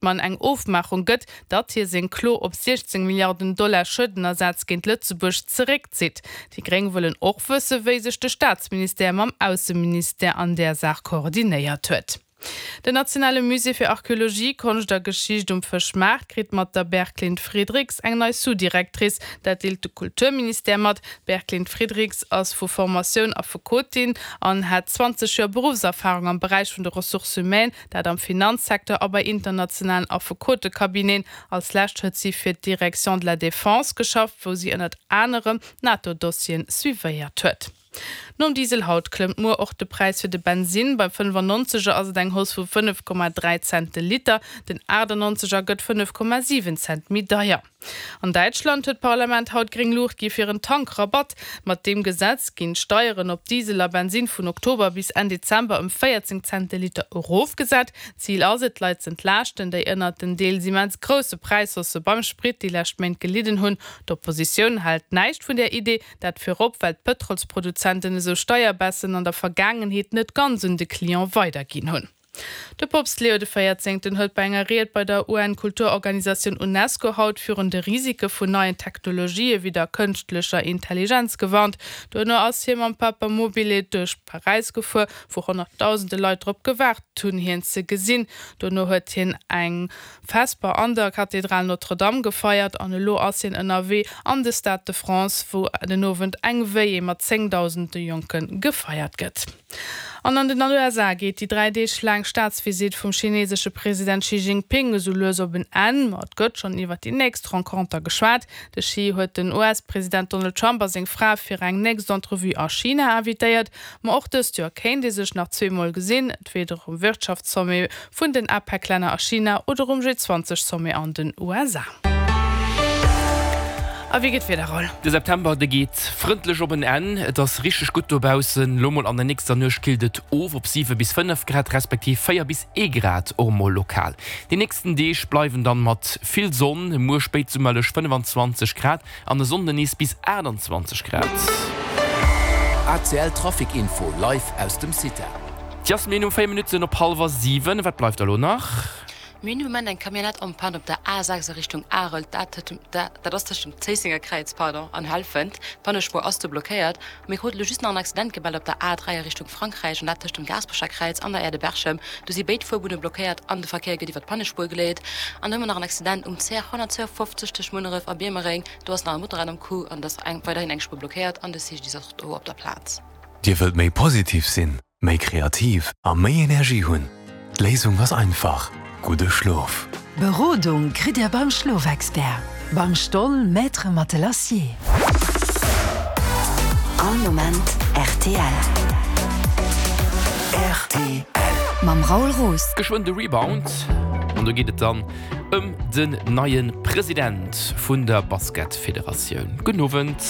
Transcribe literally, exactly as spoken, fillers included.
Mann eng Ofmaachung gëtt, datt hie seng Klo op siechzéng Milliarden Dollar Schuedenersaz géint Lëtzebuerg zeréckzitt. Déi Gréng wëllen och wësse wéi sech de Staatsministère mam Ausseministère an där Saach koordinéiert huet. Den nationale Musée fir Archeologie, Konscht a Geschicht um Fëschmaart kritt mat der Berglind Friedrichs eng nei Sous-Directrice. Dat deelt de Kulturministère mat. D'Berglind Friedrichs ass vu Formatioun Affekotin an hat zwanzeg Joer Beruffserfarung am Beräich vun de Ressources humaines, dat am Finanzsecteur a bei internationalen Affekotecabineten. Als lescht huet si fir d'Direction de la Défense geschafft, wou si ënnert anerem NATO-Dossieren suivéiert huet. Nom Diesel haut klëmmt muer och de Präis fir de Bensinn. Beim fënnefannonzeger ass et eng Hausse vu fënnef Komma dräi Cent de Liter, den achtannonzeger gëtt fënnef Komma siwen Cent méi deier. An Däitschland huet d'Parlament haut gréng Luucht gi fir en Tankrabatt. Mat deem Gesetz ginn d'Steieren op Diesel a Bensinn vun Oktober bis Enn Dezember ëm véierzéng Cent de Liter erofgesat. Zil ass et, d'Leit z'entlaaschten, déi ënnert den deels immens grousse Präishaussë beim Sprit déi lescht Méint gelidden hunn. D'Oppositioun hält näischt vun där Idee, dat virop well d'Pëtrolsproduzenten esou Steierbaissen an der Vergaangenheet net ganz un de Client weiderginn hunn. De Poopst Leo de Véierzéngten huet bei enger Ried bei der U N-Kulturorganisatioun Unesco haut virun de Risike vun neien Technologië wéi der kënschtlecher Intelligenz gewarnt. Duerno ass hie mam Papamobile duerch Paräis gefuer, wou honnertdausende Leit drop gewaart hunn, hien ze gesinn. Dono huet hien eng Vesper an der Kathedral Notre-Dame gefeiert an elo ass hien ënnerwee an de Stade de France, wou den Owend eng Veillée mat zéngdausende Jonke gefeiert gëtt. An an den U S A geet déi dräi Deeg laang Staatsvisitt vum chinesesche President Xi Jinping esou lues op en Enn, ma et gëtt schonn iwwer déi nächst Renconter geschwat. De Xi huet den U S-President Donald Trump a seng Fra fir eng nächst Entrevue a China invitéiert. Ma och dëst Joer kéint ee sech nach zweemol gesinn, entweder um Wirtschaftssommet vun den APEC-Länner a China oder um G zwanzeg Sommet an den U S A. A wéi geet d'Wieder, Raoul? De September, de geet frëndlech op en Enn. Et ass richteg gutt dobaussen. Lo mol an der nächster Nuecht killt et of op siwe bis fënnef Grad, respektiv véier bis ee Grad och mol lokal. Déi nächsten Deeg bleiwen dann mat vill Sonn, muer spéitsummerlech fënnefanzwanzeg Grad an e Sonnden nees bis aachtanzwanzeg Grad. A C L Trafic Info live aus dem CITA. D'Jasmine, um véier Minutten op hallwer siwen. Wat bleift da lo nach? Mir hunn de Moment eng Camionnette en panne op der A sechs a Richtung Arel, dat dat ass tëscht dem Zéissenger Kräiz, pardon, an Helfent. D'Pannespuer ass do blockéiert. A mir kruten elo just nach en Accident gemellt op der A dräi a Richtung Frankräich, an dat tëscht dem Gaasperecher Kräiz an der Aire de Berchem. Do si béid Fuerbunne blockéiert an de Verkéier gëtt iwwer d'Pannespuer geleet. An da hu mer nach en Accident um C R honnertzwouafofzeg tëscht Munneref a Biermereng. Do ass nach e Motorrad am Coup an et ass eng weiderhin eng Spuer blockéiert an de C G D I S ass och do op der Plaz. Dir wëllt méi positiv sinn, méi kreativ a méi Energie hunn? D'Léisung ass einfach, gudde Schlof. Berodung kritt Dir beim Schlofexpert, beim Stoll Maître Matelassier. All Moment R T L. R T L. Mam Raoul Roos. Geschwënn de Rebound an do geet et dann ëm den neie President vun der Basketfederatioun. Gudden Owend.